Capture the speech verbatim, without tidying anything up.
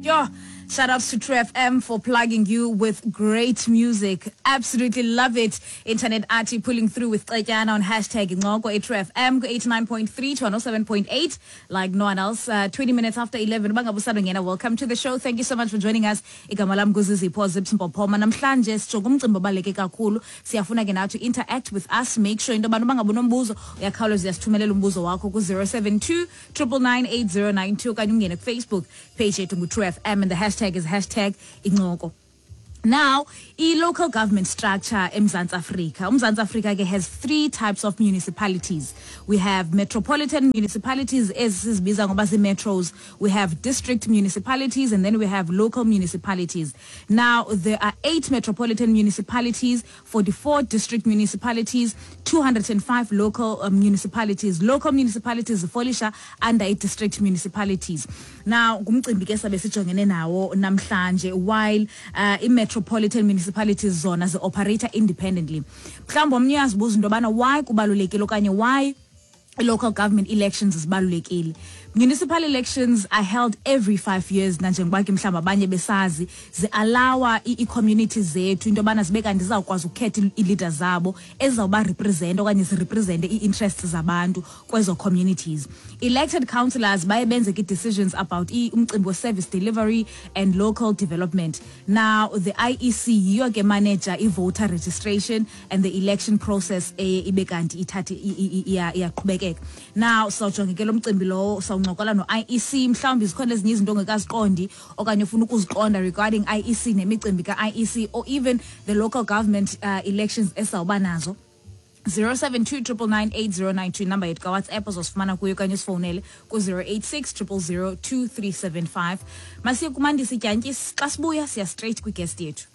Yo, shout outs to True F M for plugging you with great music. Absolutely love it. Internet Archie pulling through with Cetyana on hashtag Incoko True F M eighty-nine point three to one oh seven point eight like no one else. Uh, twenty minutes after eleven. Bangabusado. Welcome to the show. Thank you so much for joining us. Igama lam nguZizipho Zips Mpophoma. Namhlanje sijonga umcimbi obaluleke kakhulu. Siyafuna ke nathi interact with us. Make sure into yobana bangabe unombuzo, uyakhawuleza uyasithumelela umbuzo wakho ku zero seven two nine nine nine eight zero nine two okanye ungene ku Facebook page yethu ngu True F M and the hashtag is hashtag Incoko. Now, i-local government structure eMzantsi Afrika. UMzantsi Afrika ke has three types of municipalities. We have metropolitan municipalities, esizibiza ngoba zii-metros. We have district municipalities and then we have local municipalities. Now, there are eight metropolitan municipalities, forty-four district municipalities, two hundred and five local uh, municipalities. Local municipalities zifolisha under i-district municipalities. Now, ngumcimbi ke sabe sijongene nawo namhlanje, while uh, i-metropolitan municipalities zona zi-operate independently. Mhlawumbi omnye uyazibuza into yobana why kubalulekile okanye why local government elections zibalulekile. Municipal elections are held every five years, nanjengoba ke mhlawumbi abanye besazi, zi-allowa ii-communities zethu into yobana zibe kanti zizawukwazi ukukhetha ii-leaders zabo ezizawuba represent okanye zirepresente ii-interests zabantu kwezo communities. Elected councillors baye benze ke decisions about umcimbi we-service delivery and local development. Now, the I E C yiyo ke manager i-voter registration and the election process eye ibe kanti ithathe iyaqhubekeka. Now, sawujonge ke lo mcimbi lowo, sawuncokola no-I E C. Mhlawumbi zikhona ezinye izinto ongekaziqondi okanye ufuna ukuziqonda regarding I E C nemicimbi ka-I E C or even the local government uh, elections esawuba nazo. zero seven two nine nine nine eight zero nine two number yethu kaWhatsApp, ozosifumana kuyo okanye usifowunele ku-zero eight six zero zero zero two three seven five. Masiye kuMandisi Dyantyisi. Xa sibuya siya straight kwiguest yethu.